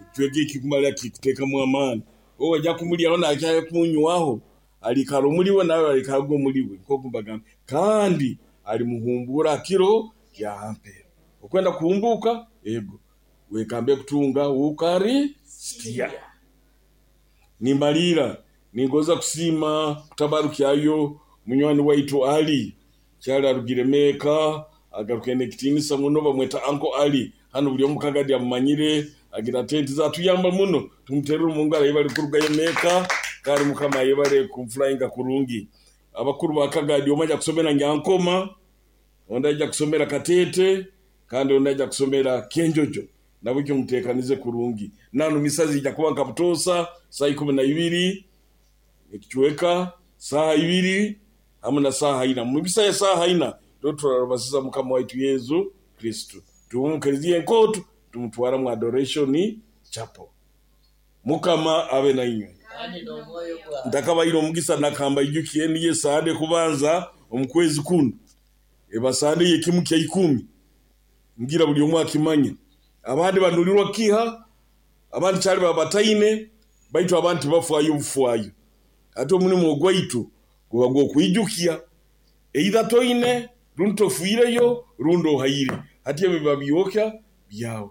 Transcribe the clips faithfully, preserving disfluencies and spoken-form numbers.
Ekicweka eki kumara kikuteekamu amaani. Obu ajya kumulyaho nakya kumunywaho, aliikara omuli we, nawe aliikaraga omuli we, nkooku mbagambire. Kandi alimuhumbuura ha kiro kya ha mpero. Okwenda kuhumbuuka, ego, weekambe kutunga Ukarisitiya. Nimbalirra, ningonza kusiima kutabarukyayo munywani waitu Ali, Kyali arugire Meeka, agarukire n'ekitiinisa muno, bamweta Uncle Ali, hanu buli omu Kagadi amumanyire, agira tenti ze, atuyamba muno, tumuterre omu ngaro ayebale kurugayo Meeka, kandi Mukama ayebale kumuflyinga kurungi. Abakuru ba Kagadi, omu aija kusomera Nyankoma, ondi aija kusomera Kateete, kandi ondi aija kusomera Kyenjojo. Nahabweki muteekanize kurungi. Nanu misa ziija kuba nka butoosa, saaha ikumi na ibiri n'ekicweka, saaha ibiri hamu na saaha ina. Mu misa ya saaha ina, nubwo turarabasiza Mukama waitu Yesu Kristo. Twiha omu Kereziya Enkooto nitumutwara mu Adoration Chapel. Mukama abe na inywe. Kandi n'omwoyo gwawe. Ntakabaire omugisa nakambaijukye, niyo Sande ekubanza omu kwezi kunu. Eba Sande y'ekimu kya ikumi. Ngira buli omu akimanye. Abandi banulirwa kukiha, abandi caali baba bataine, baitu abandi tibafaayo bufaayo. Hati omulimo ogwaitu guba gw'okwijukya, either toine rundi tofiireyo rundi ohaire. Hati ebi biba byokya byawe.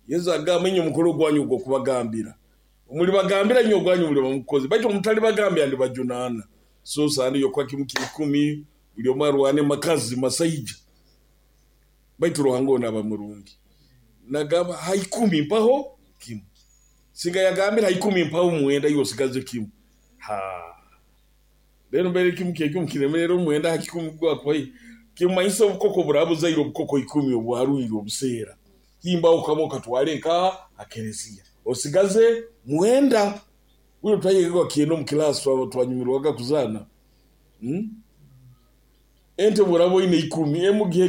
Yesu agamba, inywe mukole ogwanyu ogw'okubagambira. Mulibagambira inywe ogwanyu muliba mugukozere, baitu obu mutalibagambira ndibajunaana. So Sande y'okuha kimu kya ikumi, buli omu arwane makazi masaija, baitu Ruhanga onu aba murungi. Nagamba ha ikumi mpaho kimu. Singa yagambire ha ikumi mpaho mwenda, iwe osigaze kimu. Haa, rero mbere kimu kya ikumi kiremerra omwenda ha kikumi gwakuhaire, kimumanyisa obukoko buraaba buzaire obukoko ikumi obwarwire obuseera, himbaho kamu okatwale nkaha ha kereziya, osigaze mwenda. Buli twayegaga kyenda omu kilaasi twanyumirwaga kuzaana. Ente obu oraaba oine ikumi, emu gihe.